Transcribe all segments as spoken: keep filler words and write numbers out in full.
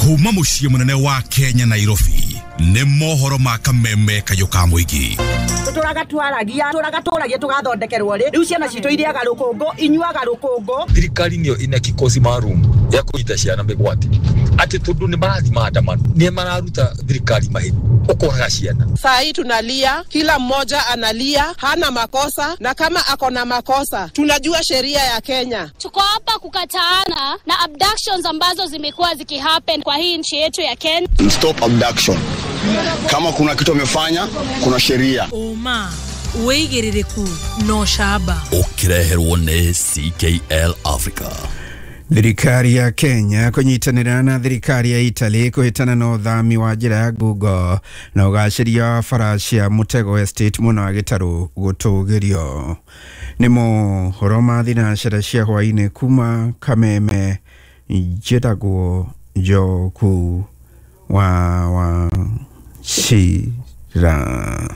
Kuma muciĩ mũnene wa Kenya Nairobi nĩ mohoro ma kameme kayũ ka mũingĩ. Tũraga twaragia tũraga tũragia tũgathondekerwo rĩ rĩu ciana citũ iriaga rũkũngũ inyuaga rũkũngũ. Thirikari nĩyo ina kikosi maalum ya kũnyita ciana mĩgwate atĩ tondũ nĩ marathiĩ maandamano nĩ mararuta thirikari mahĩtia ũkoraga ciana. Saa hii tunalia, kila mmoja analia, hana makosa, na kama ako na makosa tunajua sheria ya Kenya. Tuko hapa kukataana na abductions ambazo zimekuwa zikihappen kwa hii nchi yetu ya Kenya. Stop abduction. Kama kuna kitu amefanya, kuna sheria. Oma wĩigĩrĩrĩku no shaba ũkĩreherwo nĩ C K L Africa. Thirikari ya Kenya kũnyitanĩra na thirikari ya Italy kũhĩtana na ũthami wa njĩra ya Google na ũgacĩria wa bara cia Mutego Estate mwena wa Gĩtarũ gũtũgĩrio. Nĩ mohoro ma thinacara cia hwaĩ-inĩ kuma Kameme, njĩtagwo Njoku wa wa Chira.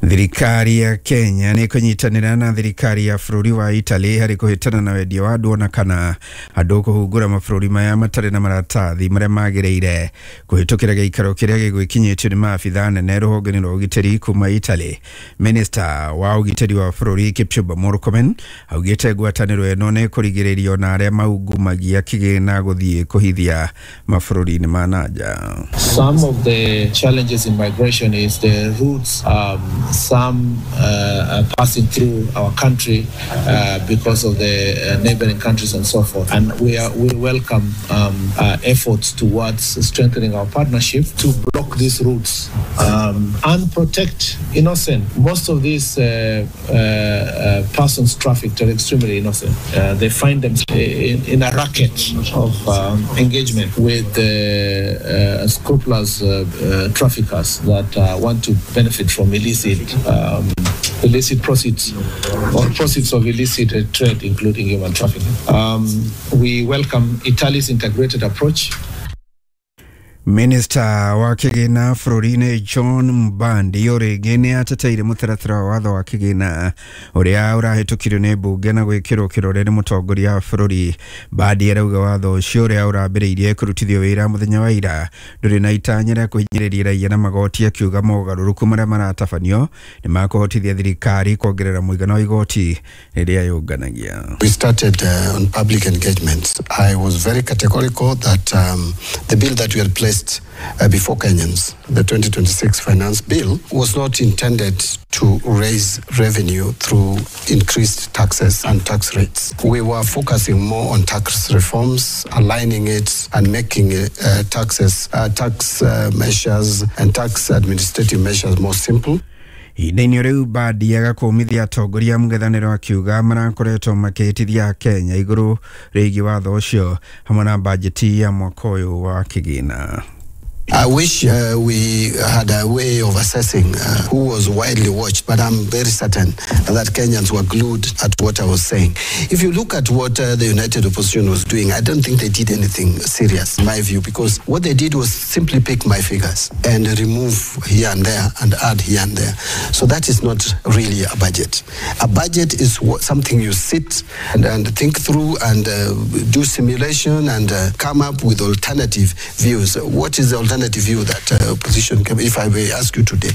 Thirikari ya Kenya nĩ kũnyitanĩra na thirikari ya bũrũri wa Italy harĩ kũhĩtana na wendia wa andũ ona kana andũ kũhungura mabũrũri maya matarĩ na maratathi marĩa magĩrĩire kũhĩtũkĩra gĩikaro kĩrĩa gĩgwĩkinyĩtio nĩ maabithaa nene rũhonge-inĩ rwa ũgitĩri kuma Italy. Minister wa ũgitĩri wa bũrũri Kipchumba Murkomen augĩte ngwatanĩro ĩno nĩ kũrigĩrĩrio na arĩa maungumagia kĩgĩna gũthiĩ kũhithia mabũrũri-inĩ ma na nja. Some of the challenges in migration is the routes, um, some uh, are passing through our country uh, because of the uh, neighboring countries and so forth. And we are, we welcome um, uh, efforts towards strengthening our partnership to block these routes um, and protect innocent. Most of these uh, uh, uh, persons trafficked are extremely innocent. Uh, they find themselves in, in a racket of um, engagement with uh, uh, scrupulous uh, uh, traffickers that uh, want to benefit from illicit Um, illicit proceeds or proceeds of illicit trade, including human trafficking. Um, we welcome Italy's integrated approach. Minister wa kĩgĩna bũrũri-inĩ John Mbandi o rĩngĩ nĩ ateteire mũtaratara wa watho wa kĩgĩna ũrĩa ũrahĩtũkirio nĩ mbunge na gwĩkĩrwo kĩrore nĩ mũtongoria wa bũrũri. Mbandi arauga watho ũcio ũrĩa ũrambĩrĩirie kũrutithio wĩra mũthenya wa ira ndũrĩ na itanya rĩa kũhinyĩrĩria raia na magoti, akiuga mogarũrũku marĩa maratabanio nĩ makũhotithia thirikari kuongerera mũigana wa igoti rĩrĩa yũnganagia. We started uh, on public engagements. I was very categorical that um, the bill that we had placed Uh, before Kenyans, the twenty twenty-six finance bill, was not intended to raise revenue through increased taxes and tax rates. We were focusing more on tax reforms, aligning it and making uh, taxes, uh, tax uh, measures and tax administrative measures more simple. Ihinda-inĩ rĩu Mbandi agakũmithia atongoria mũng'ethanĩro akiuga marakoretwo makĩhĩtithia Kenya igũrũ rĩgiĩ watho ũcio hamwe na bajeti ya mwaka ũyũ wa kĩgĩna. I wish uh, we had a way of assessing uh, who was widely watched, but I'm very certain that Kenyans were glued at what I was saying. If you look at what uh, the United Opposition was doing, I don't think they did anything serious, in my view, because what they did was simply pick my figures and remove here and there and add here and there. So that is not really a budget. A budget is what, something you sit and, and think through and uh, do simulation and uh, come up with alternative views. What is the alternative view that uh, opposition can, if I may ask you today?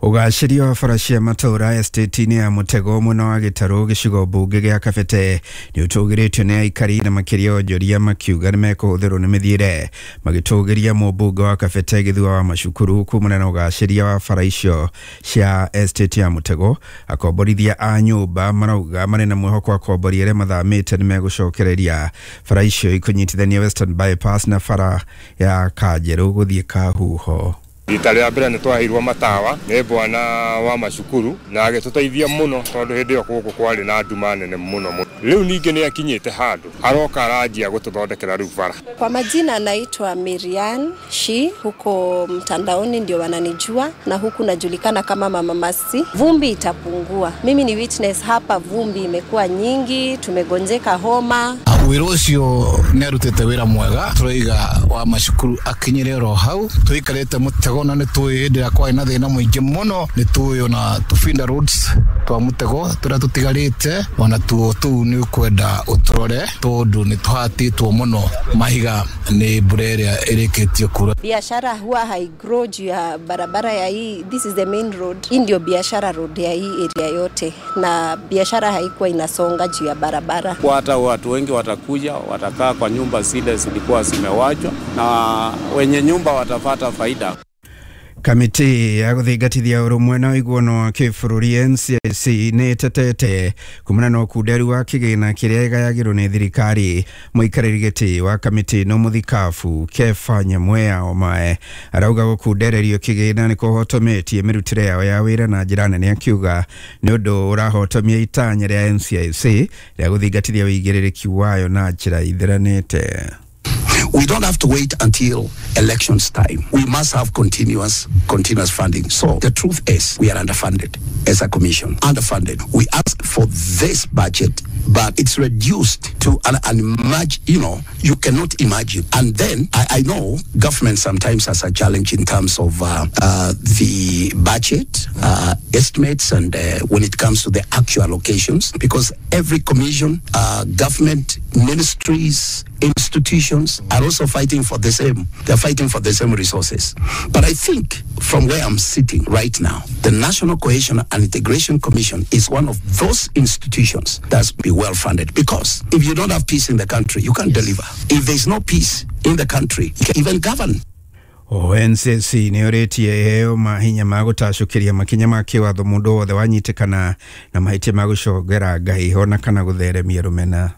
Ũgacĩria wa bara cia matũũra estate-inĩ ya Mutego mwena wa Gĩtarũ gĩcigo mbunge gĩa Kabete nĩ ũtũgĩrĩtio nĩ aikari na makĩria onjoria makiuga nĩ mekũhũthĩrwo nĩ mĩthiĩre magĩtũgĩria mũmbunge wa Kabete Gĩthua wa Macukuru kumana na ũgacĩria wa bara icio cia estate ya Mutego. Akomborithia a nyũmba marauga marĩ na mwĩhoko wa akombori arĩa mathamĩte nĩ megũcokereria bara icio ikũnyitithania Western Bypass na bara ya Kanjerũ gũthiĩ Kahuho. Rita rĩa mbere nĩ twaheirwo matawa nĩ bwana wa Macukuru na agĩtũteithia mũno tondũ hĩndĩ ĩyo gũkũ kwarĩ na nduma nene mũno mũno. Rĩu ningĩ nĩ akinyĩte handũ aroka aranjia gũtũthondekera rĩu bara. Kwa majina naitwa Miriam Shi, huko mtandaoni ndio wananijua na huku najulikana kama Mama Masi. Vumbi itapungua. Mimi ni witness hapa, vumbi imekuwa nyingi, tumegonjeka homa. Wĩra ũcio nĩ arutĩte wĩra mwega, tũraiga wa Macukuru akinyire oro hau, tũikarĩte Mutego na nĩ tũĩ hĩndĩ ĩrĩa kwarĩ na thĩna mũingĩ mũno, nĩ tũĩ ona Tufinda roads Twa mutego turia tutigarite ona tuo tu ni kwenda uturore tondu ni tuhatitwo muno mahiga ni mbura ĩrĩa ĩrĩkĩtie kura. Biashara huwa haigrow juu ya barabara ya hii, this is the main road. Hii ndio biashara road ya hii area yote, na biashara haikuwa inasonga juu ya barabara. Kwa hata watu wengi watakuja watakaa kwa nyumba zile zilikuwa zimewachwa na wenye nyumba watapata faida. Kamiti ya guthingatithia urumwe na ũiguano wa kĩbũrũri N C I C nĩ ĩtetete kumana na ũkunderu wa kĩgĩna kĩrĩa ĩgayagĩrwo nĩ thirikari. Mũikarĩri gĩtĩ wa kamĩtĩ ĩno mũthikabu Kefa Nyamweya Omae arauga gũkundererio kĩgĩna nĩ kũhotometie mĩrutĩre yao ya wĩra na njĩra nene, akiuga nĩ ũndũ ũrahotomia itanya rĩa N C I C rĩa gũthingatithia ũigĩrĩrĩki wayo na njĩra ithiranĩte. We don't have to wait until elections time. We must have continuous, continuous funding. So the truth is we are underfunded as a commission. Underfunded. We ask for this budget, but it's reduced to an, an imagine, you know, you cannot imagine. And then I, I know government sometimes has a challenge in terms of uh, uh, the budget uh, estimates and uh, when it comes to the actual allocations, because every commission, uh, government, ministries, institutions are also fighting for the same. They're fighting for the same resources. But I think from where I'm sitting right now, the National Cohesion and Integration Commission is one of those institutions that's be well funded, because if you don't have peace in the country, you can't deliver. If there's no peace in the country, you can't even govern. O N C C nĩ ũrĩtie ĩheo mahinya ma gũtacũkĩria makinya ma kĩwatho mũndũ wothe wanyitĩkana na mahĩtia ma gũcongera ngahĩho na kana gũtheremia rũmena.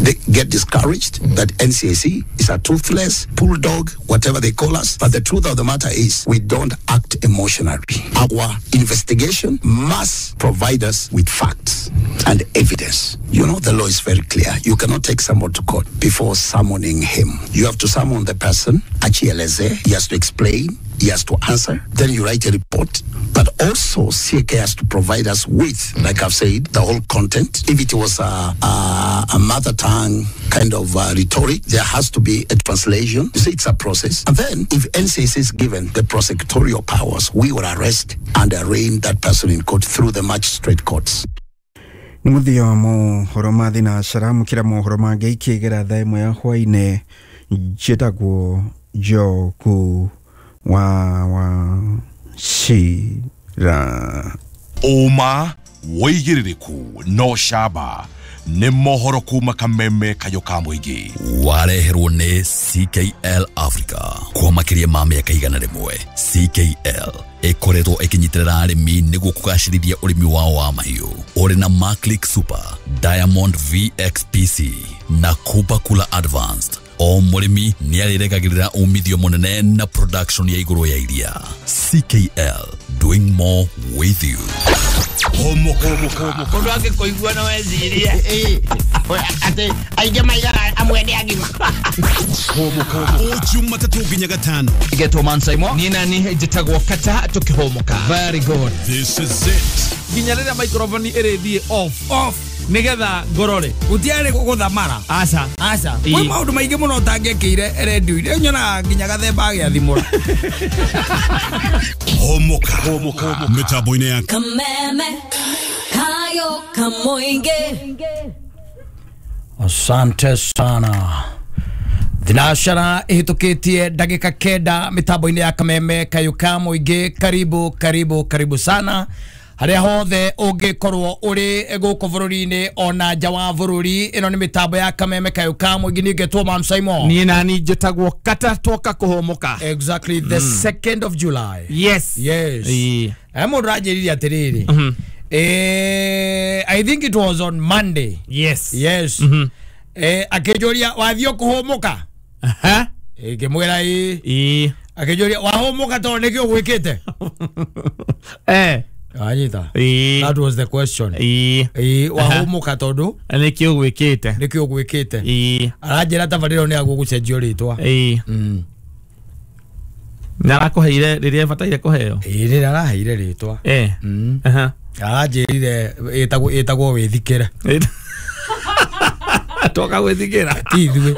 They get discouraged that N C I C is a toothless bulldog, whatever they call us. But the truth of the matter is we don't act emotionally. Our investigation must provide us with facts and evidence. You know, the law is very clear. You cannot take someone to court before summoning him. You have to summon the person, achieleze, he has to explain, he has to answer. Then you write a report. But also C K has to provide us with, like I've said, the whole content. If it was a, a, a mother tongue kind of uh, rhetoric, there has to be a translation. You see, it's a process. And then if N C C is given the prosecutorial powers, we will arrest and arraign that person in court through the magistrate courts. Nĩ mũthia wa mohoro ma thinacara mũkĩra mohoro mangĩ ikĩgera thaa ĩmwe ya hwainĩ. Njĩtagwo Njoku wa wa Shira. Ũma wĩigĩrĩrĩku no camba nĩ mohoro kuma Kameme Kayũ ka mũingĩ. Wareherwo nĩ C K L Africa kwa makĩria ma mĩaka igana rĩmwe. C K L ĩkoretwo ĩkĩnyitĩrĩra arĩmi nĩguo kũgacĩrithia ũrĩmi wao wa mahiũ. Ũrĩ na Maclick Super, Diamond V X P C na Kuba Kula Advanced. O mũrĩmi nĩ arĩregagĩrĩra umithio mũnene na production ya igũrũ ya iria. C K L, doing more with you. Mũndũ angĩkũigua no ecirie atĩ aingĩ maigaga amwe nĩ agima. O Jumatatũ nginya Gatano. Getwo Mansaimo. Niĩ nani njĩtagwo Kata tũkĩhũmũka. Very good. This is it. Nginya rĩrĩa microphone ĩrĩthiĩ off. Off. Nigetha ngorore gutiarĩ gũthamara. Aca aca kwĩ maũndũ maingĩ mũno ũtangĩkĩire redio-inĩ, nyonaga nginya gathemba agĩathimũra. Homoka mĩtambo-inĩ ya Kameme Kayo Kamoinge. Asante sana. Thinashara ihitukitie ndagika kenda mitambo-inĩ ya Kameme Kayo ka Mũingĩ. Karibu karibu karibu sana haria hothe ũngĩkorwo ũrĩ gũkũ bũrũri-inĩ ona nja wa bũrũri. Ĩno nĩ mĩtambo ya Kameme Kayũ ka Mũingĩ. Niĩ ngetwo Mam Simon. Niĩ nani njĩtagwo Kata twoka kũhũmũka. Exactly the second of July. Yes. Yes. E mũndũ aranjĩrire atĩrĩrĩ, eh I think it was on Monday. Yes. Yes. Eh akĩnjũria wathiĩ kũhũmũka. Aha. Ngĩmwĩra ĩĩ. Ĩĩ. Akĩnjũria wahũmũka tondũ nĩkĩo gwĩkĩte. Eh Anyita. Ĩĩ. That was the question. Ĩĩ. Ĩĩ wahũmũka tondũ nĩkĩo gwĩkĩte. Nĩkĩo gwĩkĩte. Ĩĩ. Aranjĩra tabarĩra nĩ agũgũcenjio rĩtwa. Ĩĩ. Mm. Nĩ arakũheire rĩrĩa ĩbataire kũheo? Ĩĩ rĩrĩa araheire rĩtwa. Eh. Mm. Aha. Aranjĩrire ĩtagwo ĩtagwo wĩthikĩre. Toka gwĩthikĩra. Ti ithuĩ.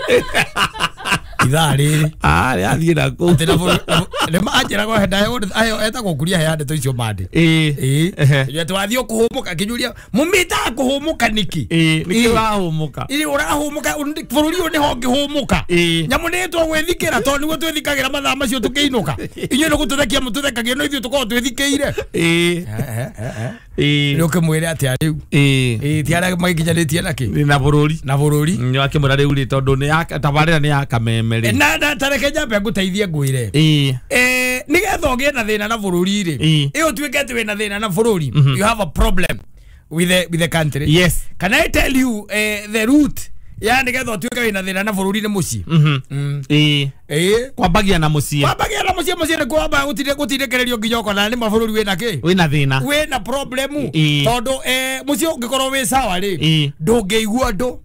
Ithaa rĩrĩ. Ah, rĩathiĩ na kũu. Atĩ Nĩ manjĩraga ayo etagwo kuria heane ndeto icio mande. Ĩĩ. Ĩĩ. Twathiĩ kũhũmũka akĩnjũria mũmĩtaga kũhũmũka nĩkĩ? Ĩĩ, nĩkĩ ũrahũmũka? Ĩĩ ũrahũmũka bũrũri ũyũ nĩho ũngĩhũmũka. Nyamũ nĩ twĩthikĩra tondũ nĩguo twĩthikagĩra mathaa macio tũkĩinũka. Inyuĩ nĩ gũtũthekia mũtũthekagia no ithuĩ tũkoragwo twĩthikĩire. Ĩĩ. Ĩĩ. Nĩ ũkĩmwĩre atĩa rĩu? Ĩĩ. Ĩĩ ti arĩa magĩkinyanĩtie na kĩ? Na bũrũri. Na bũrũri. Nĩ akĩmwĩra rĩu rĩ tondũ nĩ ya tabarĩra nĩ ya kameme rĩ. Na na tareke nyambe ngũteithie ngwĩre. Ĩĩ. Eh nĩgetha ũgĩe na thĩna na bũrũri rĩ. Ĩĩ ũtuĩke atĩ wĩna thĩna na bũrũri. You have a problem with the with the country. Yes. Can I tell you uh, the root? Ya nĩgetha ũtuĩke wĩna thĩna na bũrũri nĩ mũciĩ. Mhm. Ĩĩ. Ĩĩ. Kwambagia na mũciĩ. Kwambagia na mũciĩ mũciĩ nĩ kwamba gũtinde gũtindĩkĩrĩrio nginya ũkona nĩ mabũrũri wĩna kĩ? Wĩna thĩna. Wĩna problemu. Tondũ eh mũciĩ ũngĩkorwo wĩ sawa rĩ ndũngĩigua ũndũ.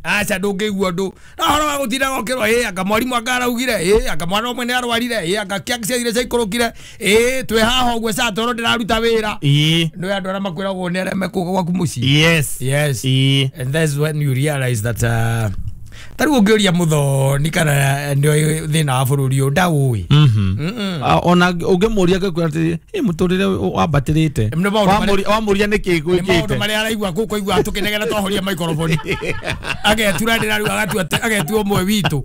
Aca ndũngĩigua ũndũ. Na ũhoro wa gũtinda gũkĩrwo ĩ anga mwarimũ anga araugire ĩ anga mwana ũmwe nĩ arwarire ĩ anga kĩa ciathire ciaikũrũkire ĩ twĩ haha ũguo ca tondũ ndĩraruta wĩra. Ĩĩ. Nĩ andũ arĩa makwĩragwo nĩ arĩa mekũga gwaku mũciĩ. Yes. Yes. Ĩĩ. And that's when you realize that uh, tarĩu ũngĩũria mũthoni kana nĩoĩ thĩna wa bũrũri ũyũ ndaũĩ. Ona ũngĩmũria ngĩkwĩra atĩ ĩ mũtũrĩre wambatĩrĩte wamũria nĩkĩ gwĩkĩte nĩ maũndũ marĩa araigua kũu kũigua tũkĩnegena twahoria maikoroboni agetura ndĩra rĩu agatua agetua ũmwe witũ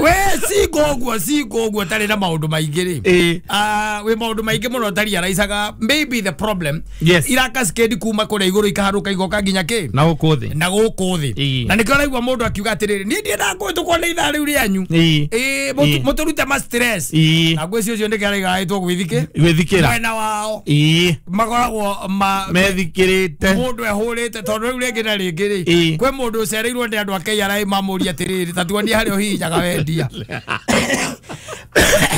we singo ũguo singo ũguo tarĩ na maũndũ maingĩ rĩ ah wĩ maũndũ maingĩ mũno tari araicaga maybe the problem yes. Irakaskedi kuma kũrĩa igũrũ ikaharũka igoka nginya kĩ na gũkũ thĩ na gũkũ thĩ na nĩkĩo araigua mũndũ akiuga atĩrĩrĩ niĩ ndiendaga kũhĩtũkwo nĩ ithaa rĩu rĩanyu ĩĩ mũtũrute ma stress na ngwĩciria ũcio nĩkĩo araiga ĩtwo gwĩthikĩ gwĩthikĩra mwena wao ĩĩ makoragwo ma methikĩrĩte mũndũ ehũrĩte tondũ rĩu rĩngĩ na rĩngĩ rĩ kwĩ mũndũ ũcereirwo nĩ andũ a K R A mamũria atĩrĩrĩ ta tuonie harĩa ũhihinyaga wendia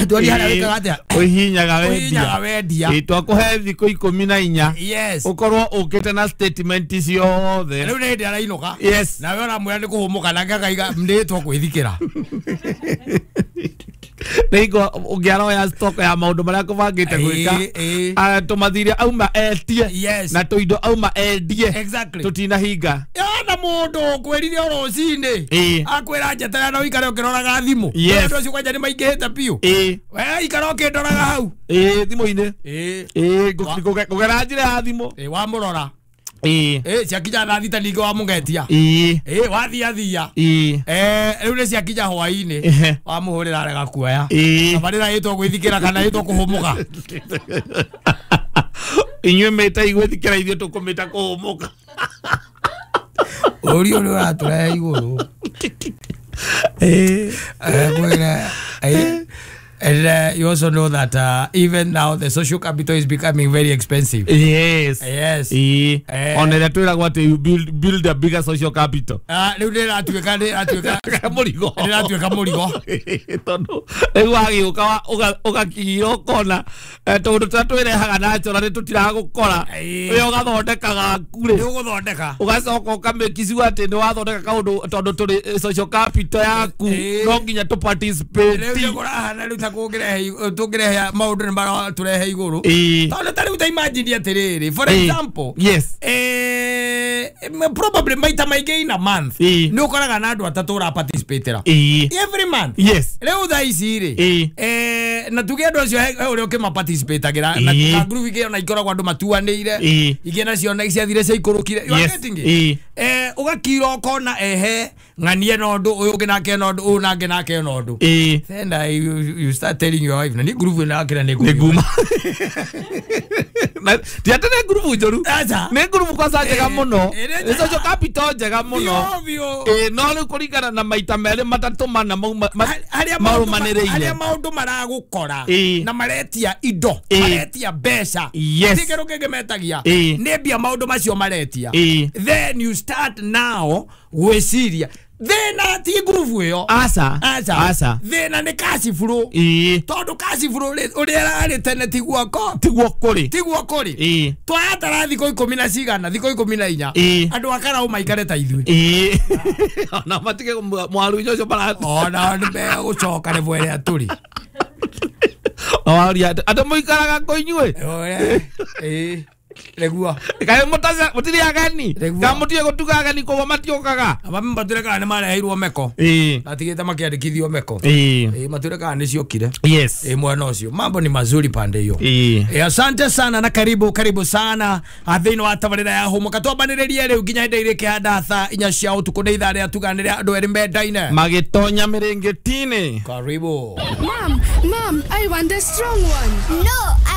tuonie harĩa wĩkaga atĩa ũhihinyaga wendia ũhihinyaga wendia ĩĩ twakũhe thikũ ikũmi na inya yes ũkorwo ũkĩte na statement ciothe rĩu nĩ hĩndĩ arainũka yes nawe ũramwĩra nĩ kũhũmũka nake akaiga nĩtwo gwĩthikĩra nĩingo ũngĩaroya stock ya maũndũ marĩa kũbangĩte gwĩka tũmathire auma etie na tũindo auma endie tũtinahinga na mũndũ ũkwĩrire o rũcinĩ akwĩra njeterera na ũikare ũkĩroraga thimũ andũ acio kwanja nĩ maingĩhĩte biũ we ikara ũkĩndoraga hau ĩĩ thimũ-inĩ ĩĩ kũgera njĩra ya thimũ ĩĩ wamũrora ĩĩ ĩĩ ciakinya thaa thita ningĩ wamũgetia ĩĩ ĩĩ wathia thia ĩĩ eh rĩu nĩ ciakinya hwaĩ-inĩ wamũhũrĩra arega kuoya tabarĩra ĩtwo gwĩthikĩra kana ĩtwo kũhũmũka inyuĩ mĩta igwĩthikĩra ithuĩ tũkũmĩta kũhũmũka ũri ũrĩa ũratũrehe igũrũ ĩĩ kwĩra ĩĩ. And uh, you also know that uh, even now the social capital is becoming very expensive. Yes. Yes. Eh. On the Twitter, what you build build a bigger social capital. Ah, rĩu nĩratuĩka nĩratuĩka mũrigo. Nĩratuĩka mũrigo. Tondũ rĩu wagĩũka ũgakinyira ũkona tondũ tũrĩa twĩrehaga natural nĩ tũtiragũkora. We ũgathondeka gaku rĩ. Nĩ ũgũthondeka. Ũgacoka ũkamĩkicua atĩ nĩ wathondeka kaũndũ tondũ tũrĩ social capital yaku no nginya tũ participate. Rĩu nĩ kũrahana rĩu ta kũngĩrehe tũngĩrehe maũndũ nĩ maratũrehe igũrũ. Tondũ ta rĩu ta imagine atĩrĩrĩ for example yes eh probably maita maingĩ in a month nĩ ũkoraga na andũ atatũ ũra participate every month yes rĩu thaa ici rĩ eh na tuge andũ acio he ũrĩa ũkĩma participate agĩra na group ingĩ ona ikoragwo andũ matuanĩire ingĩ nacio na ciathire ciaikũrũkire you are getting it eh ũgakira ũkona ehe ng'anie na ũndũ ũyũ ũngĩ nake na ũndũ ũyũ nake nake na ũndũ then I, you, you start telling your wife na nĩ group ĩno akĩra nĩ nguma ti atĩ nĩ group njũru nĩ group kwanza njega mũno nĩ social capital njega mũno ĩĩ no rĩu kũringana na maita merĩ matatũ mana marũmanĩrĩire harĩa maũndũ maragũkora na maretia indo maretia mbeca ti kĩndũ kĩngĩ metagia nĩ mbia maũndũ macio maretia then you start now gwĩciria thĩna ti ngurubu ĩyo aca aca aca thĩna nĩ kaciburu ĩĩ tondũ kaciburu ũrĩa ĩrarĩ tene tiguo ko tiguo kũrĩ tiguo kũrĩ ĩĩ twatara thikũ ikũmi na cigana thikũ ikũmi na inya andũ a Karau maikare ta ithuĩ ĩĩ ona matige mwaru-inĩ ũcio bara ona nĩ megũcoka level ĩrĩa tũrĩ waria andũ mũikaraga kũ inyuĩ ĩĩ Nĩguo. Kaĩ mũtaca mũtirĩ ageni kana mũtige gũtuga ageni koguo matiũkaga. Abami matwĩre kana nĩ mareheirwo meko. Ĩĩ. Matigĩte makĩandĩkithio meko. Ĩĩ. Ĩĩ matwĩre kana nĩ ciokire. Yes. Ĩĩ mwena ũcio mambo ni mazuri pande hiyo. Ĩĩ. Ĩĩ asante sana na karibu karibu sana thĩinĩ wa tabarĩra ya hũmũka twambanĩrĩrie rĩu nginya hĩndĩ ĩrĩa ĩkĩhanda thaa inya cia ũtukũ nĩ ithaa rĩa tuganĩre andũ erĩ mendaine magĩtonya mĩrĩngĩti-inĩ. Karibu. Mom, Mom, I want the strong one. No, I